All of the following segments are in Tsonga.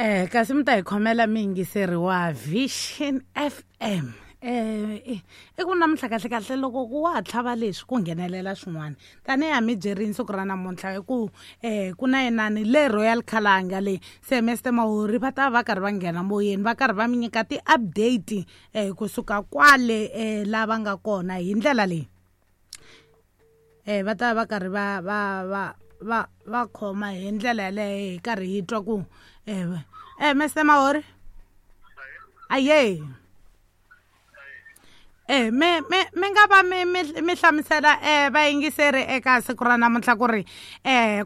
Kasi mi ta hi khomela miyingiseri wa Vision FM. I ku namuntlha kahle kahle loko ku wa ha tlhava leswi ku nghenelela swin'wana tanihi ha mi byerini siku ra namuntlha hi ku ku na inani le Royal Khalanga le se Mr Mahori va ta va karhi va nghena moyeni va karhi va mi nyika ti-update kusuka kwale la va nga kona hi ndlela leyi. Va ta va karhi va va va va va khoma hi ndlela yaleyo hi karhi hi twa ku Mr Mahori aye me me mi nga va mi mi mi hlamusela vayingiseri eka siku ra namuntlha ku ri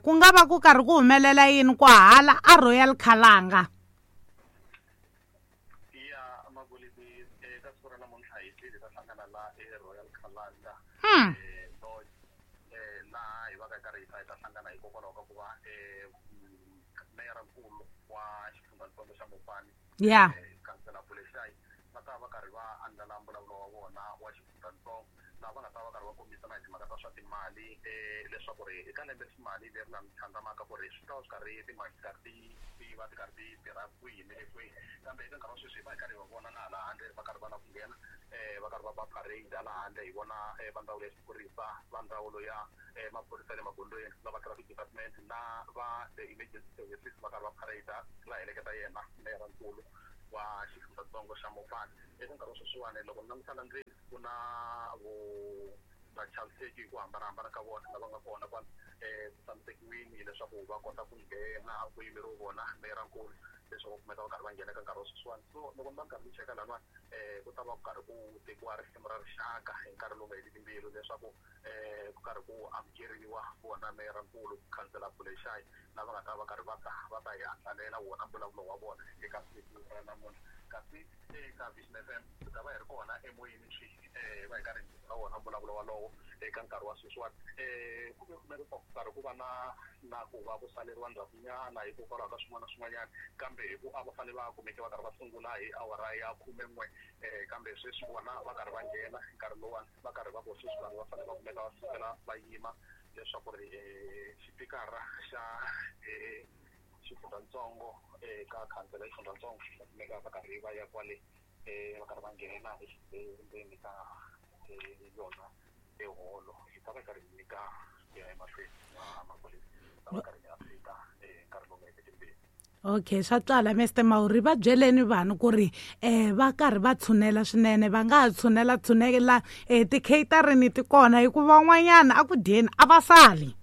ku nga va ku karhi ku humelela yini kwahala a Royal Khalanga. Ya Magolidi, eka siku ra namuntlha hi tlhele hi ta hlangana la eRoyal Khalanga Lodge, laha hi va ka hi karhi hi ta hi ta hlangana hikokwalaho ka ku va meyara-nkulu wa xifundzatsongo xa Mopani, Khansela Bulexayi, va ta va karhi va andlala mbulavulo wa vona wa xifundzatsongo, laha va nga ta va karhi va kombisa na hi timhaka ta swa timali, leswaku ri eka lembe ximali leri la tlhandlamaka ku ri swi ta va swi karhi timali ti karhi ti ti va ti karhi ti tirha kwihi ni le kwihi. Kambe eka nkarhi wa sweswi hi va hi karhi hi va vona na hala handle va karhi va lava ku nghena, va karhi va ba parade hala handle, hi vona va ndzawulo ya xiphorisa, va ndzawulo ya maphorisa ya le magondzweni, ku nga va traffic department na va the emergency services va karhi va parade va heleketa yena meyara-nkulu wa xifundzatsongo xa Mopani. Eka nkarhi wa sweswiwani loko ni languta la ndzeni ku na vo vachaviseki hi ku hambanahambana ka vona lava nga kona kwala, ku tshamisekiwini leswaku va kota ku nghena ku yimeriwe vona meyara-nkulu leswaku va kumeka va karhi va nghena eka nkarhi wa sweswiwani. So loko ni va ni karhi ni cheka laniwani, ku ta va ku karhi ku tekiwa risimu ra rixaka hi nkarhi lowu nga heliki mbilu leswaku ku karhi ku amukeriwa vona meyara-nkulu Khansela Bulexayi lava nga ta va karhi va ta va ta hi andlalela wona mbulavulo wa vona eka siku ra namuntlha. Kasi eka Vision FM hi ta va hi ri kona emoyeni swi hi va hi karhi hi nyika wona mbulavulo walowo eka nkarhi wa sweswiwani. Ku ve kumeka ku karhi ku va na na ku va ku saleriwa ndzhakunyana hikokwalaho ka swin'wana na swin'wanyana, kambe hi ku a va fanele va kumeke va karhi va sungula hi awara ya 11, kambe sweswi vona va karhi va nghena hi nkarhi lowuwani va karhi va ku sweswi vanhu va fanele va kumeka va sukela va yima leswaku ri xipikara xa xifundzatsongo eka khansela ya xifundzatsongo va kumeka va karhi va ya kwale, va karhi va nghena endzeni ka yona eholo. Hi ta va hi karhi hi nyika ku ya emahlweni na maphorisa, hi ta va karhi hi update nkarhi lowu nga hetiki mbilu. Okay, swa twala Mr Mauri, va byeleni vanhu ku ri va karhi va tshunela swinene, va nga ha tshunela tshunela ti-catering ti kona hikuva van'wanyana a ku dyeni a va sali.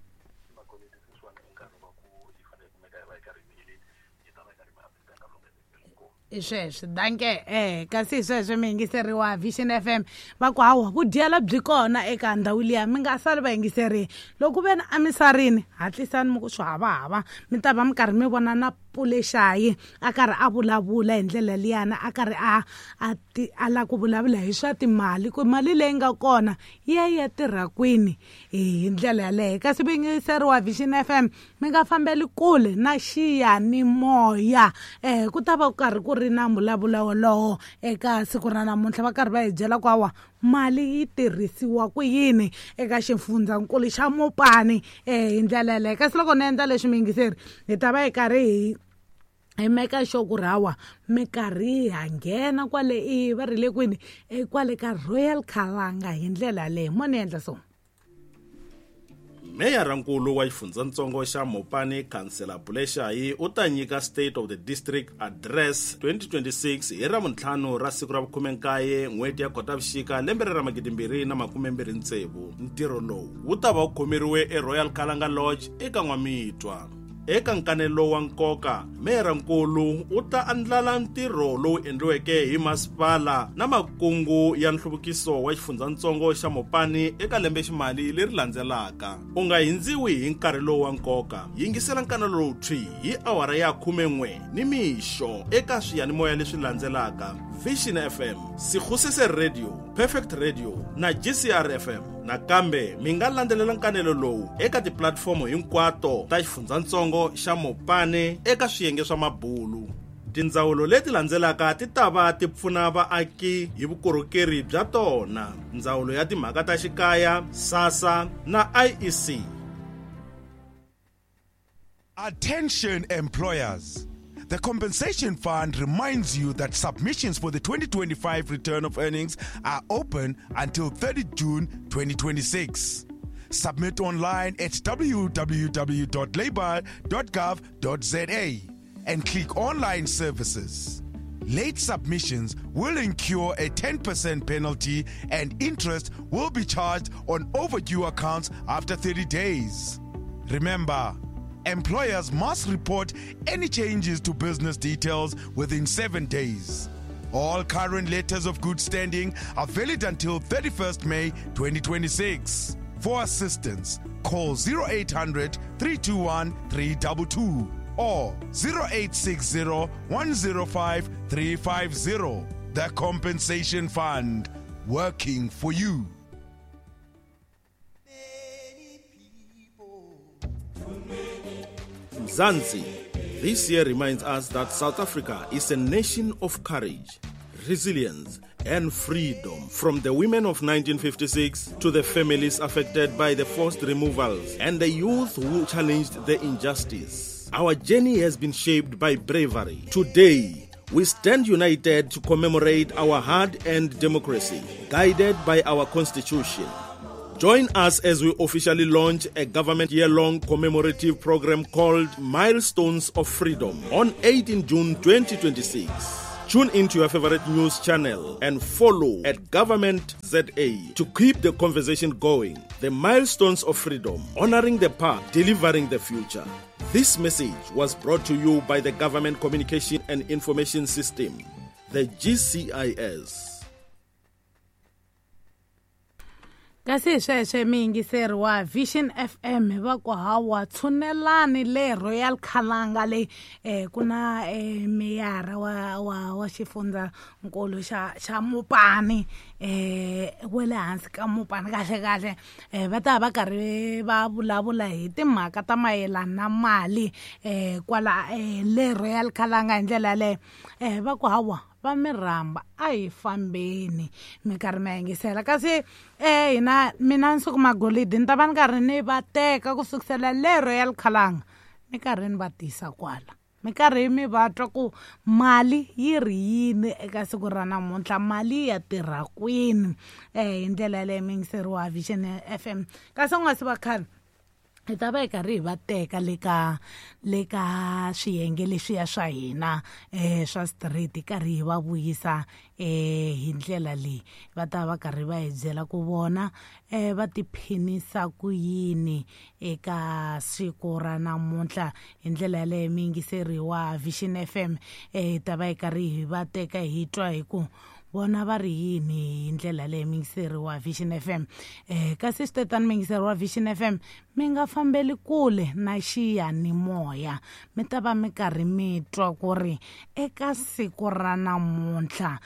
Hi sweswo danke. Kasi hi sweswo mi yingiseriwa Vision FM va ku hawa vudyela byi kona eka ndhawu liya, mi nga sali vayingiseri. Loko ve ni a mi sarini, hatlisani mi ku swi havahava, mi ta va mi karhi mi vona na Pulexayi a karhi a vulavula hi ndlela liyana, a karhi a a ti a lava ku vulavula hi swa timali ku mali leyi nga kona yi ya yi ya tirha kwini hi ndlela yaleyo. Kasi vuyingiseriwa Vision FM mi nga fambeli kule na xiyanimoya, ku ta va ku karhi ku ri na mbulavulo wolowo eka siku ra namuntlha, va karhi va hi byela ku hawa mali yi tirhisiwa ku yini eka xifundzankulu xa Mopani hi ndlela yaleyo. Kasi loko ni endla leswi miyingiseri, hi ta va hi karhi hi hi meka sure ku ri hawa minkarhi ha nghena kwale i va ri le kwini, kwale ka Royal Khalanga hi ndlela yaleyo. Mo ni endla so. Meyara-nkulu wa xifundzatsongo xa Mopani Khansela Bulexayi u ta nyika State of the District Address 2026 hi Ravuntlhanu ra siku ra vukhume-nkaye n'hweti ya Khotavuxika lembe ra 2026. Ntirho lowu wu ta va wu khomeriwe eRoyal Khalanga Lodge eka N'wamitwa. Eka nkanelo wa nkoka, meyara-nkulu u ta andlala ntirho lowu endliweke hi masipala na makungu ya nhluvukiso wa xifundzatsongo xa Mopani eka lembe-ximali leri landzelaka. U nga hindziwi hi nkarhi lowu wa nkoka. Yingisela nkanelo lowu thwi hi awara ya 11 nimixo eka swiyanimoya leswi landzelaka: Vision FM, Sekgosese Radio, Perfect Radio na GCR FM. Nakambe mi nga landzelela nkanelo lowu eka tipulatifomo hinkwato ta xifundzatsongo xa Mopani eka swiyenge swa mabulu. Tindzawulo leti landzelaka ti ta va ti pfuna vaaki hi vukorhokeri bya tona: Ndzawulo ya Timhaka ta Xikaya, SASSA na IEC. Attention employers. The Compensation Fund reminds you that submissions for the 2025 return of earnings are open until 30 June 2026. Submit online at www.labour.gov.za and click Online Services. Late submissions will incur a 10% penalty and interest will be charged on overdue accounts after 30 days. Remember, employers must report any changes to business details within 7 days. All current letters of good standing are valid until 31st May 2026. For assistance, call 0800 321 322 or 0860 105 350. The Compensation Fund, working for you. Mzansi, this year reminds us that South Africa is a nation of courage, resilience, and freedom. From the women of 1956 to the families affected by the forced removals and the youth who challenged the injustice. Our journey has been shaped by bravery. Today, we stand united to commemorate our hard-earned democracy, guided by our constitution. Join us as we officially launch a government year-long commemorative program called Milestones of Freedom on 18 June 2026. Tune into your favorite news channel and follow at Government ZA to keep the conversation going. The Milestones of Freedom, honoring the past, delivering the future. This message was brought to you by the Government Communication and Information System, the GCIS. Kasi hi sweswe miyingiseri wa Vision FM va ku hawa tshunelani le Royal Khalanga le ku na meyara wa xifundzankulu xa Mopani wa le hansi ka Mopani kahle kahle va ta va karhi va vulavula hi timhaka ta mayelana na mali kwala le Royal Khalanga hi ndlela yaleyo va ku hawa va mi rhamba a hi fambeni mi karhi mi yingisela kasi hina mina Nsuku Magolidi ni ta va ni karhi ni va teka ku sukisela le Royal Khalanga mi karhi ni va tisa kwala mi karhi mi va twa ku mali yi ri yini eka siku ra namuntlha mali ya tirha kwini hi ndlela yaleyo mi yingiseriwa Vision FM kasi u nga si va khale hi ta va hi karhi hi va teka le ka swiyenge leswiya swa hina swa street hi karhi hi va vuyisa hi ndlela leyi va ta va karhi va hi byela ku vona va tiphinisa ku yini eka siku ra namuntlha hi ndlela yaleyo mi yingiseriwa Vision FM hi ta va hi karhi hi va teka hi twa hi ku vona va ri yini hi ndlela leyi miyingiseri wa Vision FM kasi swi tetani miyingiseri wa Vision FM mi nga fambeli kule na xiyanimoya mi ta va mi karhi mi twa ku ri eka siku ra namuntlha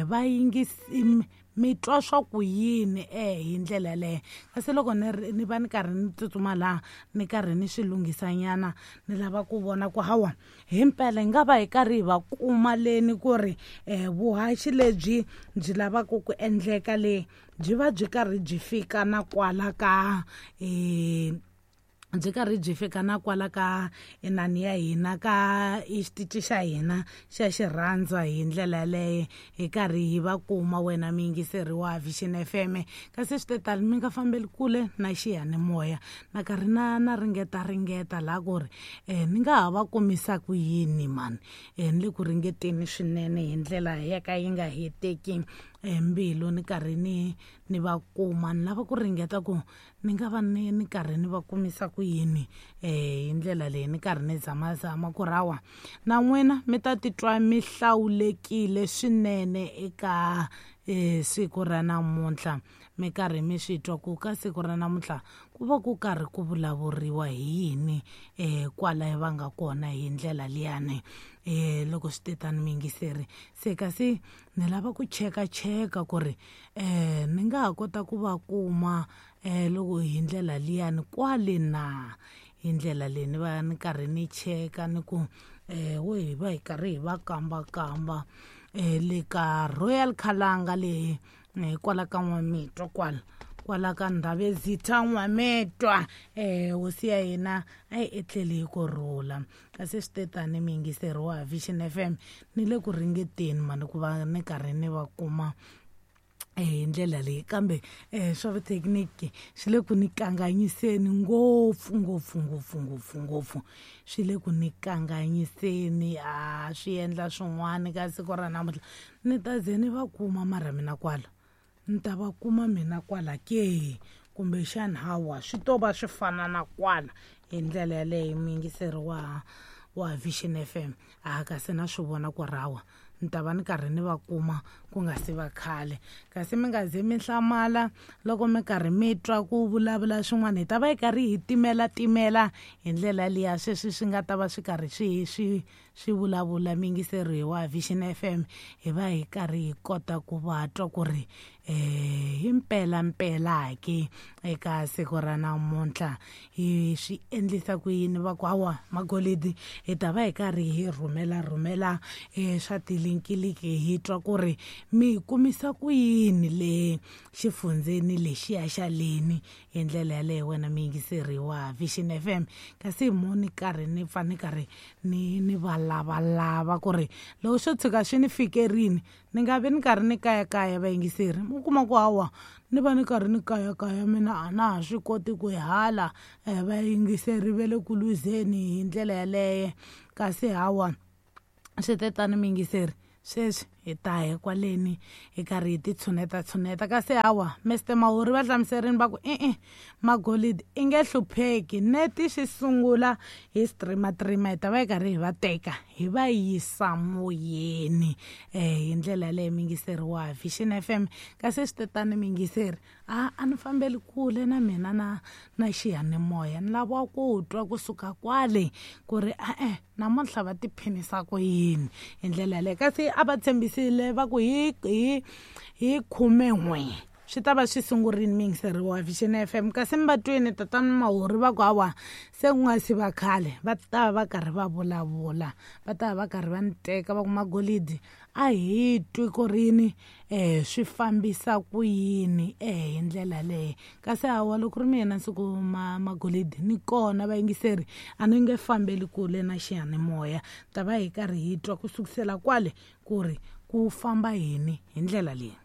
va yingisi mi twa swa ku yini hi ndlela yaleyo kasi loko ni va ni karhi ni tsutsuma laha ni karhi ni swi lunghisanyana ni lava ku vona ku hawa himpela hi nga va hi karhi hi va kuma leni ku ri vuhaxi lebyi byi lavaka ku endleka le byi va byi karhi byi fika na kwala ka byi karhi byi fika na kwala ka inani ya hina ka xitichi xa hina xa xirhandza hi ndlela yaleyo hi karhi hi va kuma wena miyingiseri wa Vision FM kasi swi tetani mi nga fambeli kule na xiyanimoya na karhi na ringeta laha ku ri ni nga ha va kumisa ku yini mani ni le ku ringeteni swinene hi ndlela ya ka yi nga heteki mbilu ni karhi ni va kuma ni lava ku ringeta ku ni nga va ni karhi ni va kumisa ku yini hi ndlela leyi ni karhi ni zamazama ku rawa na n'wina mi ta titwa mi hlawulekile swinene eka siku ra namuntlha mi karhi mi swi twa ku ka siku ra namuntlha ku va ku karhi ku vulavuriwa hi yini kwala va nga kona hi ndlela liyani loko swi tetani miyingiseri se kasi ni lava ku chekacheka ku ri ni nga ha kota ku va kuma loko hi ndlela liyani kwale na hi ndlela leyi ni va ni karhi ni cheka ni ku wo hi va hi karhi hi va kambakamba le ka Royal Khalanga leyi kwala ka N'wamitwa kwala Kwala ka Ndhavezitha N'wametwa, hosi ya hina a yi etleli hi ku rhula. Kasi swi te tani miyingiseri wa Vision FM, ni le ku ringeteni mani ku va ni karhi ni va kuma hi ndlela leyi, kambe swa vuthekiniki swi le ku ni kanganyiseni ngopfu ngopfu ngopfu ngopfu ngopfu, swi le ku ni kanganyiseni, a swi endla swin'wana ka siku ra namuntlha. Ni ta ze ni va kuma mara mina kwala, ni ta va kuma mina kwala ke, kumbexani hawa swi to va swi fana na kwala hi ndlela yaleyo. Muyingiseri wa Vision FM, a kasi na swi vona ku rawa ni ta va ni karhi ni va kuma ku nga si va khale. Kasi mi nga ze mi hlamala loko mi karhi mi twa ku vulavula swin'wana, hi ta va hi karhi hi timela timela hi ndlela liya sweswi swi nga ta va swi karhi swi vulavula. Miyingiseri wa Vision FM, hi va hi karhi hi kota ku va twa ku ri hi mpela mpela ke eka siku ra namuntlha hi swi endlisa ku yini. Va ku hawa magolidi, hi ta va hi karhi hi rhumela rhumela swa tilinkiliki, hi twa ku ri mi kumisa ku yini le xifundzeni lexiya xa leni hi ndlela yaleyo. Wena miyingiseri wa Vision FM, kasi mo ni karhi ni pfa ni karhi ni va lavalava ku ri loko swo tshuka swi ni fikerini ni nga vi ni karhi ni kayakaya. Vayingiseri, mu kuma ku hawa ni va ni karhi ni kayakaya, mina a na ha swi koti ku hala vayingiseri ve le ku luzeni hi ndlela yaleyo. Kasi hawa swi te tani miyingiseri, sweswi hi ta hi kwaleni hi karhi hi ti tshuneta tshuneta. Kasi hawa Mr Mahuri va hlamuserini va ku e-e, magolidi i nge hlupheki, neti swi sungula hi streama trima, hi ta va hi karhi hi va teka hi va yisa moyeni hi ndlela yaleyo. Miyingiseri wa Vision FM, kasi swi te tani miyingiseri, a ni fambeli kule na mina na xiyanimoya, ni lava ku twa kusuka kwale ku ri e-e namuntlha va tiphinisa ku yini hi ndlela yaleyo. Kasi a va tshembisile va ku hi 11 swi ta va swi sungurini miyingiseri wa Vision FM. Kasi mi va twini tatana Mahuri va ku hawa se ku nga si va khale va ta va karhi va vulavula, va ta va karhi va ni teka va ku magolidi a hi twi ku rini swi fambisa ku yini hi ndlela leyi. Kasi hawa loko ri mina siku magolidi ni kona vayingiseri, a ni nge fambeli kule na xiyanimoya, ta va hi karhi hi twa ku sukusela kwale ku ri ku famba yini hi ndlela leyi.